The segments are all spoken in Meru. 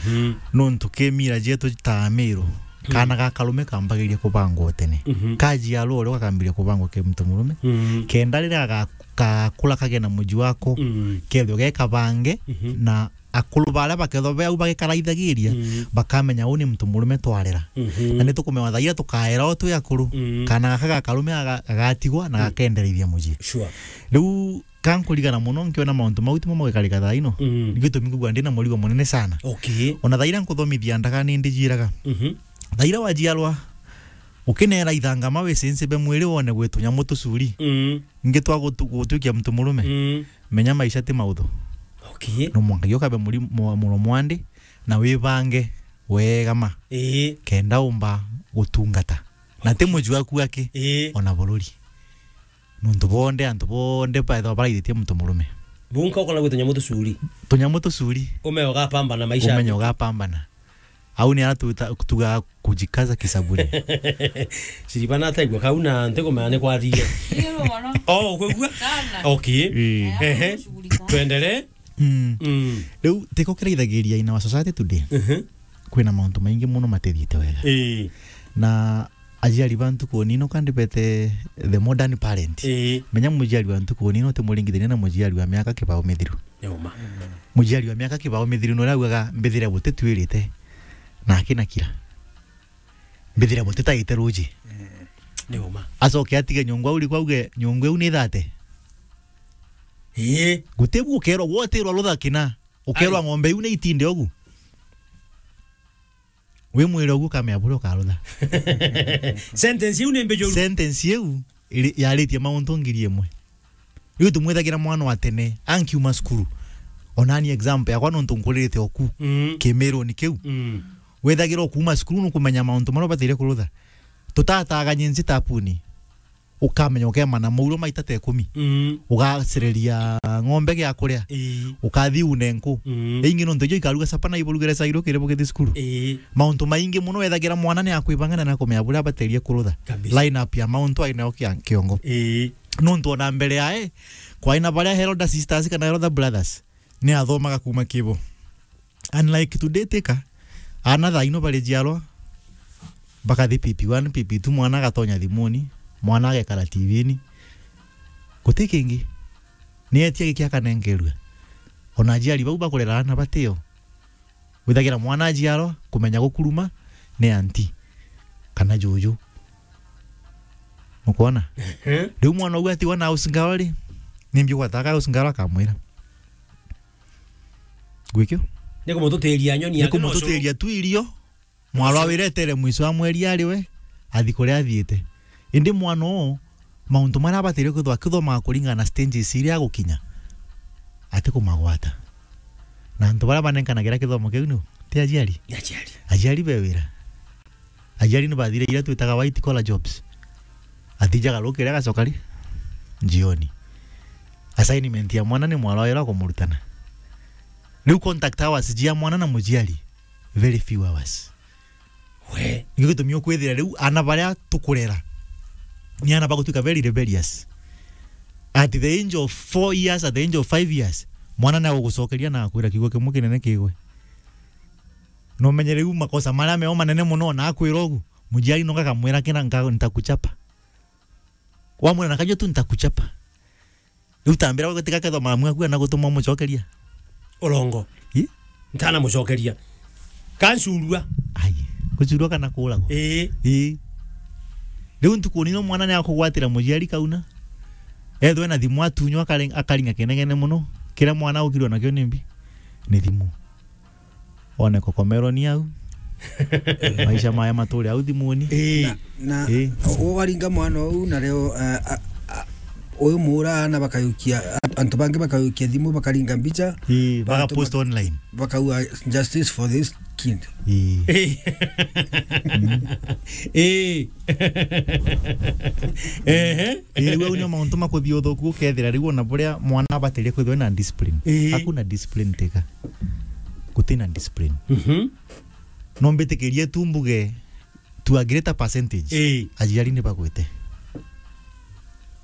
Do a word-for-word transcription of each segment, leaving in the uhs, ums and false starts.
Mm. Nontu ki mira jetu ta Amiru, mm, kana ga karume kambagiria kubangwa tene. Mhm. Kajiarwa uria gakambiria kubangwa ki muntu murume. Mm. Kenda riria ga-, gakura kagea na muji wako, mm, kethirwa ge kabange, mhm, na akuru baria bakethwa be au bagikaraithagiria, mm, bakamenya uu ni muntu murume twarera. Mhm. Na nitukumewa thaira tukaera o twi akuru, mm, kana gaka ga karume aga-, gagatigwa na, mm, gakendereithia muji. Sure. Riu kankurigana muno nkiona mauntu mau timo magikarika thaa ino. Mm. Ni gitumi ngugua ndi na murigo munene sana. Okay. Ona thaira nkuthomithia ndaga ni ndijiraga. Mhm. Thaira wajiarwa, ukinera ithangama wisinsibe mwiri wone gwi tunyamu tucuri. Mm. Ingi twa gutu-, gutuikia muntu murume. Mm. Menya maisha ti mauthu. Okay. No mwanka giokabe muri-, mu-, muromo wa ndi na wibange wega ma. Ii. Kenda umba gutungata. Na ti, okay, muju waku aki, ii, ona bururi. Nontu bonde, antu bonde baethagwa baraithitie muntu murume. Bunka ukona gwi tunyamu tucuri. Tunyamu tucuri. Umenye ugapambana maisha. Umenye ugapambana. Au ni ara tuta-, tuga kujikaza kisabuni. Siribana ataigua kau na ntikumenya ni kwathire. Ndio mono. Oh, ukwigua? Sana. Okay. Ii. Ehe. Tuendelee. Mm. Mm. Riu tiko kiraithagiria in our society today. Mhm. Kwina mauntu maingi muno matithiite wega. Ii. Na ajiari ba ntuku nini ukandibete the modern parent. Ii. Menya mujiari wa ntuku nini utimuringithania na mujiari wa miaka kibao mithiru. Ni uma. Mujiari wa miaka kibao mithiru nuria augaga, "Mbithire buti twirite, na akina kira. Mbithire buti taite ruji." Mm. Ni uma. Acoke atige nyungu au riku auge, "Nyungu iu ni thate." Ii. Guti bu ukerwa, gwotirwa rutha kina. Ukerwa, ai, ng'ombe iu ni itinde ugu. Wi mwire ugu ukamenya buria ukarutha. Sentence iu ni mbijuru. Sentence iu iri-, yaritie mauntu ngiri imwe. Riu tumwithagira mwana wa tene, ankiuma cukuru. Onani example yakwa nontu nkuririte oku, mm, kimiruni kiu. Mm. Withagira okuuma cukuru nukumenya mauntu maria ubataire kurutha. Tutataganye nzi tapuni. Ukamenya ukemana mauro maita ta ikumi. Mm. Ugacereria ng'ombe gia kuria. Ii. Ukathi une nku. Mm. Ingi nontu ijo ikaruga sapa na iburugire cairo kiri bugithi cukuru. Ii. Mauntu maingi muno wethagira mwana ni akwibanga na nakumenya buria abaterie kurutha. Kabisa. Line up ya mauntu ainayo kia-, kiongo. Ii. Nontu ona mbere yae, kwaina baria elder sisters kana elder brothers, ni athomaga kuuma kibo. Unlike today tika, ana thaa ino barijiarwa, bakathi P P one, P P two, mwana agatonya thimuni, mwana agekara T V-ni. Guti kingi. Ni etia giki akanenkerua. Ona ajiari bau bakurera ana batio. Withagira mwana ajiarwa, kumenya gukuruma, ni auntie kana juju. Ukwona? Ehe. Riu mwana uu atigwa na house girl ri, nimbi ugwataga house girl akamwira? Gwikio? Ni kumututiria nyoni. Ni yake kumututiria tu irio. Mwarwa wiretere mwico wa mweri ari we, athi kuria athiite. Indi mwana uu, mauntu maria abatire kwithwa akithomaga kuringana na stages iria agukinya, atikumagwata. Na antu baria banenkanagira kithomo kiu ni u? Ti ajiari? Ni ajiari. Ajiari be wira. Ajiari ni bathire iria twitaga white collar jobs. Athijaga rukiri agacoka ri? Jioni. Assignment ya mwana ni mwarwa wira kumurutana. Riu contact hours jia mwana na mujiari, very few hours. We. Nikio gitumi ukwithira riu ana baria tukurera ni ana bagutwika very rebellious. At the age of four years, at the age of five years, mwana ni agugucokeria na akwira kiugo kimwe kinene kigwe. Na umenye riu makosa maria meo manene muno, na akwira ugu, mujiari no gakamwira kina nka-, "Nitakuchapa." Wamwira na kajua tu, "Nitakuchapa." Riu tambira gutiga kethwa mamu aku ana gutuma umucokeria. Urongo. I? Ntana mucokeria. Kancurua. Ai, gucurua kana kuragwa? Ii. Ii. Riu ntuku nino mwana ni akugwatira mujiari kauna. Ethwe na thimu atunywa akare-, akaringa kenegene muno. Kiria mwana aukirwe nakio ni mbi? Ni thimu. One kokomero ni au. Maisha maya mature au thimuni. Ii. Na, na ii, ugaringa mwana uu na reo, a, a, a, uyu muura ana bakayukia, a, antu bangi bakayukia thimu, bakaringa mbicha. Ii, baka antu post bak-, online. Bakauga, "Justice for this kid." Ii. Ii. Mm. Ii. Ehe. Ii, riu au nio mauntu makuthia uthuku, ukethira riu ona buria mwana abatirie kwithirwa na discipline. Ii. Hakuna discipline teka. Gutina discipline. Mhm. No mbitikirie tu mbuge to a greater percentage. Ii. Ajiari ni bagwite.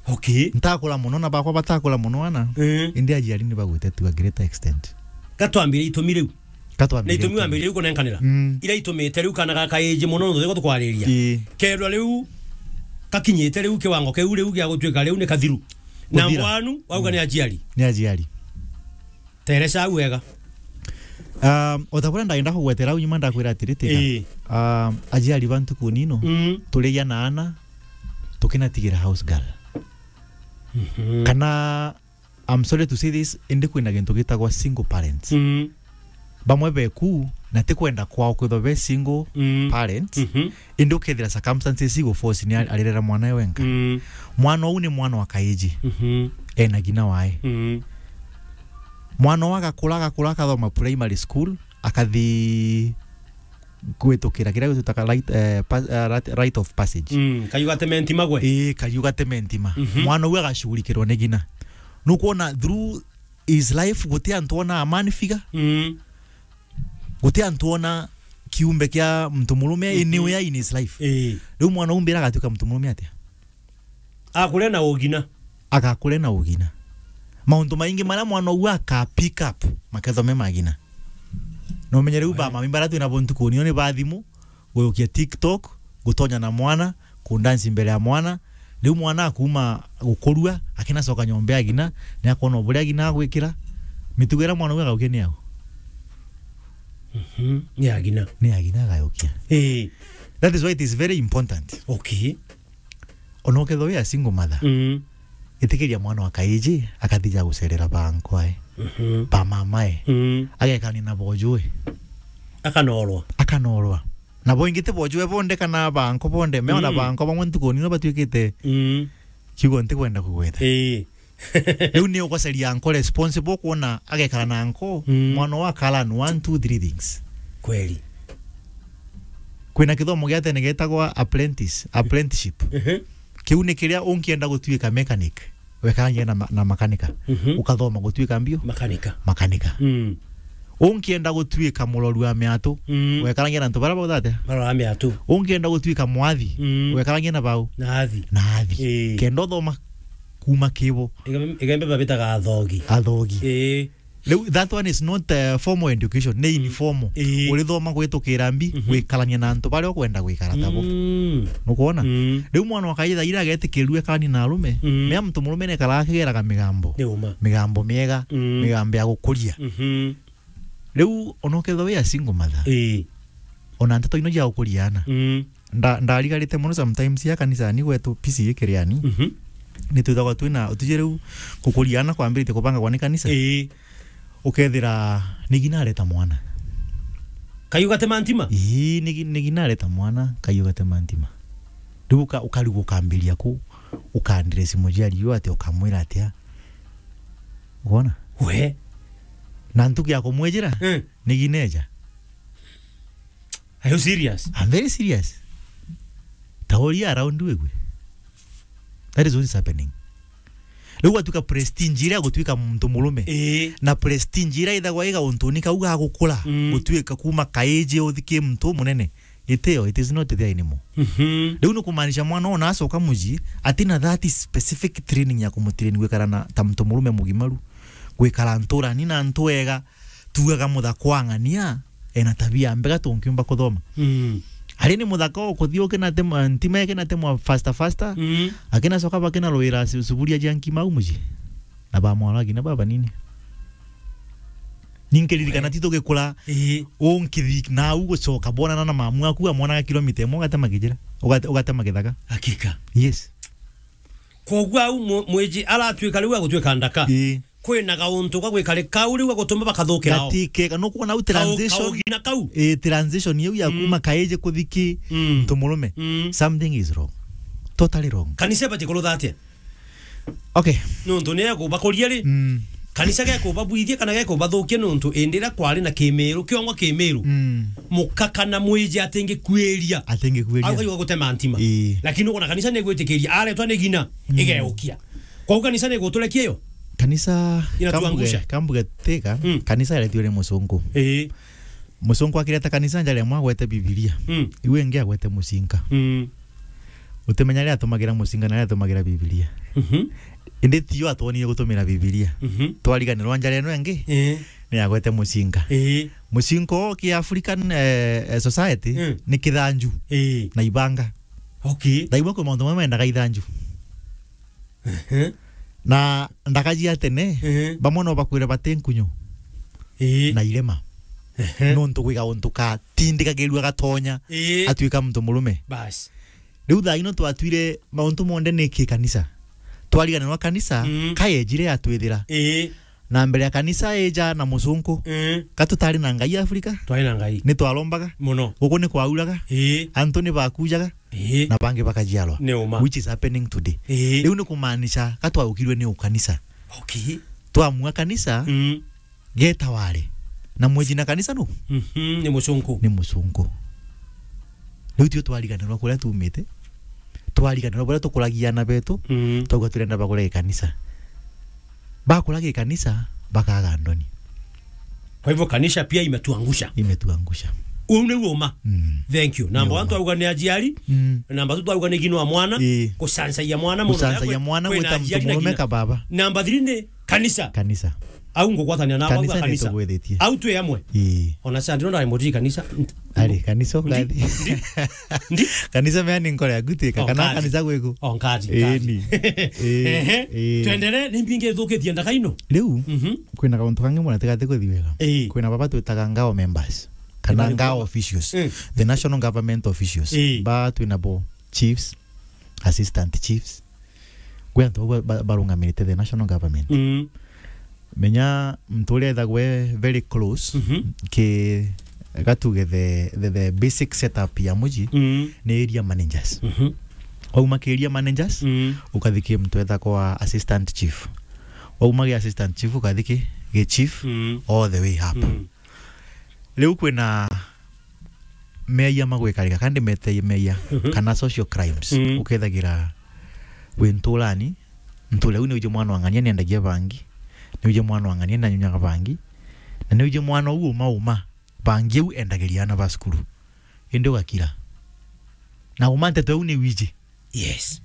Okay. Ntakura muno na bakwa batakura muno ana. Ii. Indi ajiari ni bagwite to a greater extent. Gatwambire itumi riu. Katwambiriria na itumi wambirie kunenkanira. Mm. Ira itumite riu kana gaka age mono, nontu tukwariria. Ii. Kethirwa riu kakinyite riu kiwango kiu riu gia gutuika riu ni kathiru. Na kuthira. Mbwanu, wauga ni aciari. Ni aciari. Teresa au wega. Um, o ta buria ndagenda kugwetera au nyuma ndakwira atiri, tika. Ii. Um, aciari ba ntuku nino, mm, turigia na ana, tukinatigira house girl. Mhm. Kana, I'm sorry to say this, indi kwina gintu gitagwa single parents. Mm. Bamwe beku, na ti kwenda kwao kwithwa be single, mm, parents, mhm, indi ukethira circumstances igu force ni ar-, arirera mwana e wenka. Mm. Mwana uu ni mwana wa kaiji. Mhm. Ena ngina wae. Mm. Mwana uu agakura, agakura, akathoma primary school, akathi kwitukira kiria gwitagwa right, eh, pa-, eh, right, rite of passage. Mm, kariu gateme ntima gwe? Ii, kariu gateme ntima. Mhm. Mwana uu agacugurikirwa ni ngina. Nukwona through his life guti antu ona a man figure. Mm. Guti antu ona kiumbe kia muntu murume, mhm, anywhere in his life. Ii. Riu mwana uu mbira agatuika muntu murume atia? Akure na ugina. Agakure na ugina. Mauntu maingi maria mwana uu aka pick up, makethwa me magina. Na umenye riu, we, ba mami baria twina bo ntukuni ino ni ba thimu, guyukia TikTok, gutonya na mwana, kundansi mbere ya mwana. Riu mwana akuma gukurua, akinacoka nyomba ya gina, ni akwona buria gina agwikira. Mitugo iria mwana uu agaukia ni au? Mhm, ni ya gina. Ni ya gina agayukia. Ii. That is why it is very important. Okay. Ona ukethwa wi a single mother, mm, itikiria mwana wa kaiji akathija gucerera ba nkwae, mhm, ba mamae, mm, agekania na bojue. Akanorwa. Akanorwa. Na boingi ti bojue bonde kana ba nko bonde, meona, mm, ba nko bamwe ntuku nino batuikite, mm, kiugo ntikwenda kugweta. Ii. Riu ni ugoceria anko responsible kwona agekara na anko, mm, mwana wa kalan one, two, three things. Kweli. Kwina kithomo gia tene getagwa apprentice, apprenticeship. Mhm. Kiu ni kiria unkienda gutuika mechanic, wekaragia na ma-, na makanika. Mhm. Ukathoma gutuika mbio? Makanika. Makanika. Mm. Unkienda gutuika muroru wa miatu, mm, wekaragia na antu baria bautha atia? Marora miatu. Unkienda gutuika mwathi, mm, wekaragia na bau? Na athi. Na athi. Ii. Kenda uthoma kuma kibo. Igembe, igembe babitaga athogi. Athogi. Ii. Riu, that one is not, uh, formal education, ni, mm, informal. Ii. Urithoma gwitukira mbi, mhm, gwikarania na antu baria ukwenda gwikara tabo. Mm. Nukwona? Mm. Riu mwana wa kaitha ira agetikirue kani na arume, mm, mea muntu murume nekara akigeraga migambo. Ni uma. Migambo miega, mm, migambo ya gukuria. Mhm. Riu ona ukethwa wi a single mother, ii, ona nteto ino cia gukuria ana. Mm. Nda-, ndarigarite mono sometimes ya kanisani gwetu P C A Kiriani. Mhm. Nitwithagwa twina utiji riu gukuria ana kwambiritie kubangagwa ni kanisa. Ii. Ukethira ni ngina areta mwana. Kaiu gatema ntima? Ii, ni ngi-, ni ngina areta mwana, kaiu gatema ntima. Riu uka-, ukarigu ukambiria ku, ukandresi muciari uu atia, ukamwira atia? Ukwona? We. Na ntuku ya kumwijira, mm, ni ngina eja. Are you serious? I'm very serious. Tauria around wigue. That is what is happening. Riu gwatuika prestige iria ya gutuika muntu murume, ii, na prestige iria ithagwa iga untuni kau ga gukura, mm, gutuika kuma kaiji uthiki muntu munene. Itio, it is not there anymore. Mhm. Riu ni kumaanisha mwana ona acoka mucii, atina that specific training ya kumutrain gwikara na ta muntu murume mugimaru, gwikara nturani na antu ega, tugaga muthaka wa ng'ania ena tabia mbega tunkiumba kuthoma. Mm. Ari ni muthaka o kuthii ukinatema ntima, ikinatemwa faster faster. Mm. Akinacoka bakinarwira su-, suburia cia nkima au mucii. Na bamwara ngina babanini. Ninkiririkana, we, ti tugikura, ii, unkithi na au gucoka bonana na mamu aku, amwonaga kilomita imwe ugatema kijira. Ugate-, ugatema githaka. Hakika. Yes. Koguo au mu-, mwiji aratuika riu agutuika ndaka. Ii. Kwina gauntu ga gwikari kau riu gagutuma bakathukira o. Gatike, nukwona au kau, transition? Kaugina kau. Ii, transition iu ya, mm, kuma kaiji kuthiki, mm, muntu murume. Mm. Something is wrong. Totally wrong. Kanisa ibati kurutha atia? Okay. Nuntu ni ekubakuria ri? Mm. Kanisa gekubabwithia kana gekubathukia nuntu indi iria kwari na kimiru, kiongo kimiru. Mm. Muka kana mwiji atingikwiria. Atingikwiria. Au kaiwa gutema ntima. Ii. Lakini ukwona kanisa ni igwitikiria, aretwa ni ngina, mm, igeukia. Kwou kanisa ni iguturekia iyo? Kanisa, inatuangusha. Kambuge, kambuge teka, mm, kanisa yaretio ni musungu. Ii. Musungu akireta kanisa njari amwe agwete Bibilia. Mm. Iu ingi agwete mucinga. Mm. Utimenya ria atumagira mucinga na ria atumagira Bibilia. Mhm. Indi tiyo atwonire gutumira Bibilia. Mhm. Twariganirwa njara ino ingi, eh, ni agwete mucinga. Eh. Mucinga o ki African, eh, eh, society, mm, ni kithanju, eh, na ibanga. Okay. Thaimwe kwi mauntu mamwe mendaga ithanju. Ehe. Na ndaka cia tene, ehe, bamwe no bakwire bati nkunyu, eh, na irema. Ehe. Nontu gwi gauntu katindikagirua gatonya, eh, atuika muntu murume. Bas. Riu thaa ino twatwire mauntu monthe ni ki kanisa. Twariganirwa kanisa, mm, kayejire yatwithira. Ii. Na mbere ya kanisa ija na mucunku, mm, ka tutari na Ngai Afrika? Twari na Ngai. Ni twarombaga? Muno. Guku ni kwauraga? Ii. Antu ni bakujaga? Ii. Na bangi bakajiarwa? Ni uma. Which is happening today. Ii. Riu ni kumaanisha ka twaukirwe ni ukanisa. Okay. Twamua kanisa, mm, geta wari. Na mweji na kanisa nu? Mhm, ni mucunku. Ni mucunku. Riu tio twariganirwa kuria tumite. Twariganirwa buria tukuragia ana betu. Mm. Twauga turenda bagure ikanisa. Bakuragia ikanisa, bakaga ndoni. Kwa hivyo kanisa pia imetuangusha. Imetuangusha. Uu ni uma. Mm. Thank you. Namba one twauga ni ajiari. Mm. Namba two twauga ni gino wa mwana. Ii. Kusansaia mwana muno. Kusansaia mwana, kwina gwita ajiari muntu na murume gina. Ka baba. Namba three ni kanisa. Kanisa. Au ngugwatania na kanisa bauga kanisa. Nitugwithitie. Au twi amwe. Ii. Ona sandi no ndari muthii kanisa. Ari kanisa. Ndi, ukathi. Ndi, ndi. Kanisa mea ni nkore ya gutika, oh, kana nkathi. Kanisa gwiku. Oh, nkathi, ii, nkathi. Ni. Ii, ehe, ii. Twendere, ni mbingi thukitie ndaka ino. Riu, mhm, kwina kauntu kangi mwana tigati kuthi wega. Ii. Kwina baba twitaga ngao members. Kana ngao officials. Mm. The national government officials. Ii. Ba twina bo chiefs, assistant chiefs. Kwi antu bau ba-, ba-, barungamirite the national government. Mm. Menya muntu uria ethagwa e very close, mhm, ki gatuge the, the, the basic setup ya muji, mm, ni area managers. Mhm. Wauma ki area managers, mm, ukathi ki muntu ethagwa assistant chief. Wauma ki assistant chief ukathi ki, ki chief, mm, all the way up. Mm. Riu kwina meeyia magwikarika, kandi meteeye meeyia, mhm, kana social crimes. Mm. Ukethagira wi nturani, nture u niwiji mwana wa ng'ania niendagia bangi, niwiji mwana wa ng'ania nanyunyaga bangi, na niwiji mwana u uma uma bangi u endagiria ana ba cukuru. Indi ugakira. Na uma nteto iu niwiji. Yes.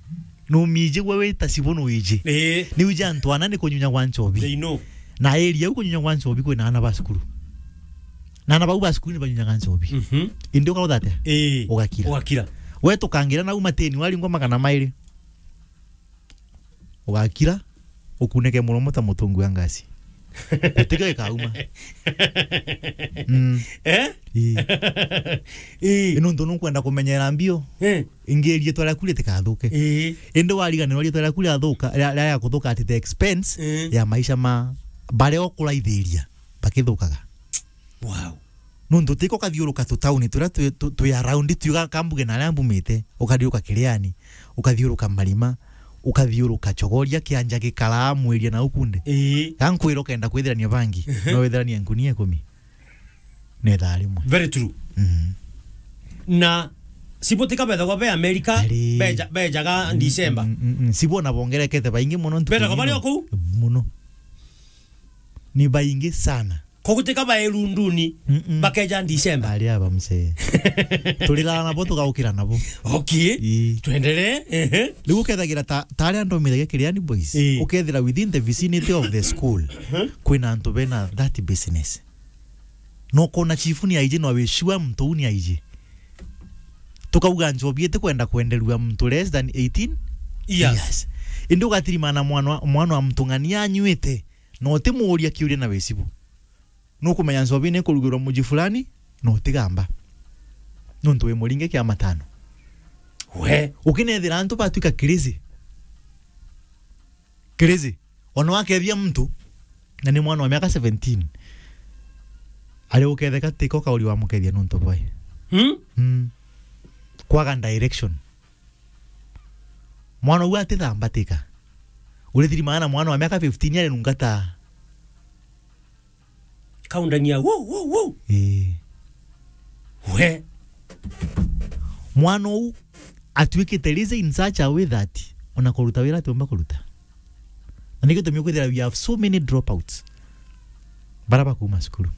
Numiji gwe wita cibu nuiji. Ii. Niwiji antu ana ni kunyunya gwa nchobi. They know. Na area u kunyunya gwa nchobi kwina ana ba cukuru. Na ana bau ba cukuru ni banyunyaga nchobi. Mhm. Indi ukarutha atia? Ii. Ugakira. Ugakira. We tukangira nau mateni waringwa magana mairi. Ugakira, ukuneke muromo ta mutungu wa ngasi. Gutikio gikauma. Mm. Eh? Ii. Ii. Ino ntu nukwenda kumenyera mbio. Eh. Ingi riitwa riaku ritikathuke. Ii. Indi wariganirwa riitwa riaku riathuka, ria, ria, ria kuthuka at the expense, ii, ya maisha ma baria ukuraithiria bakithukaga. Wow. Nontu tiko kathiuruka tutauni turia twi, tu-, twi around twiga kambuge na aria mbumite, ukathiuruka Kiriani, ukathiuruka Marima, ukathiuruka Chogoria, kianja gikaraa mwiria na ukunde. Ii. Ga nkwira ukenda kwithirania bangi, ehe, no withiranie ngunia ikumi. Ni thaa rimwe. Very true. Mm. Na cibu tika bethagwa be America, ari, beja-, bejaga, mm, December. Mm, mm, mm. Cibu ona bongerekete baingi muno ntuku. Bethagwa bari o kuu? Muno. Ni baingi sana. Koguo tika bae Lunduni, mm-mm, bakeja December. Ari aba mzee. Turirara nabo, tugaukira nabo. Okay. Ii. Twendelee. Ehe. Riu ukethagira ta, ta aria ndomithagia Kiriani Boys. Ii. Ukethira within the vicinity of the school, mhm, kwina antu bena that business. No kona chief ni aiji, no wi sure muntu u ni aiji. Tukauga nchobi iti kwenda kwenderua muntu less than eighteen years. Years. Indi ugatirimana mwana, mwana wa muntu ng'ania anywite, na utimuuria kiuria na wicibu. Nukumenya nchobi ni ikurugirwa muji fulani, na utigamba. Nontu wi muringe kia matano. We. Ukinethira antu batwika crazy. Crazy. Ona wakethia muntu, na ni mwana wa miaka seventeen, ari uketheka tiko kauri wa mukethia nontu bwai. Hmm? Mm. Kwaga direction. Mwana u atithambatika. Urithiri maana mwana wa miaka fifteen ari nungata. Kaundania, wuu, wuu, wuu. Ii. We. Mwana uu atuikite lazy in such a way that ona kuruta wira atiumba kuruta. Na nikio gitumi ukwithira we have so many dropouts. Bara bakuma cukuru.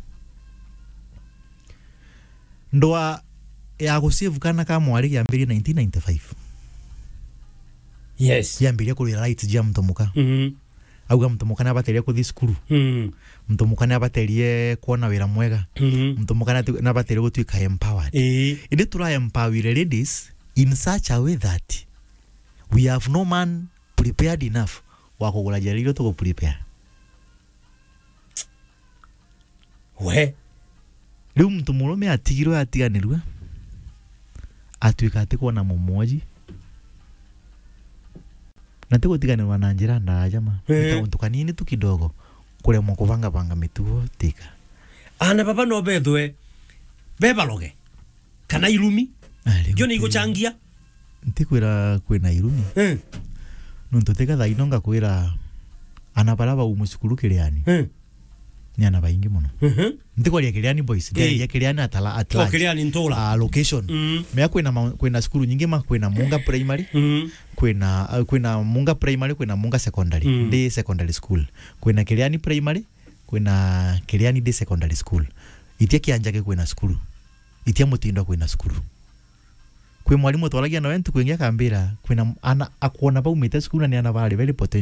Ndwa ya gusave kana ka mwari yambirie nineteen ninety-five. Yes. Yambiria kurwira rights jia mtomuka. Mhm. Auga mtomuka nabaterie kuthi cukuru. Mhm. Mtomuka nabaterie kuona wira mwega. Mhm. Mtomuka natu-, nabaterie gutuika empowered. Ii. Indi tura empower ladies in such a way that we have no man prepared enough wa kugura njira iria tugu prepare. We. Riu muntu murume atigirwe, atiganirue, atuika ati kwona mumwoji. Na ti gutiganirwa na njira ndaaja ma. Eh. Ni kauntu kanini tu kidogo, kuremwa kubangabanga mitugo tika. Ana baba no bethwe be baroge. Kana irumi. Ah, riu ndio ni ti-, iguchangia. Ntikwira kwina irumi. Eh. Nontu tiga thaa ino ngakwira ana bara bau mucukuru Kiriani. Eh. Ni ana baingi mono. Mhm. Ntikwaria Kiriani boys, eh, ndiaria Kiriani at la-, at large. Kiriani ntura. Ah, location. Mm. Mea kwina ma-, kwina cukuru nyingi ma, kwina Munga Primary, mm, kwina, ah, kwina Munga Primary, kwina Munga Secondary. Mm. Ndi secondary school. Kwina Kiriani Primary, kwina Kiriani Day Secondary School. Itia kianjage kwina cukuru. Itia mutindo kwina cukuru. Kwi mwarimu twaragia nawe ntuku ingi akambira, kwina ana akwona baumite cukuru na ni ana bari very potential.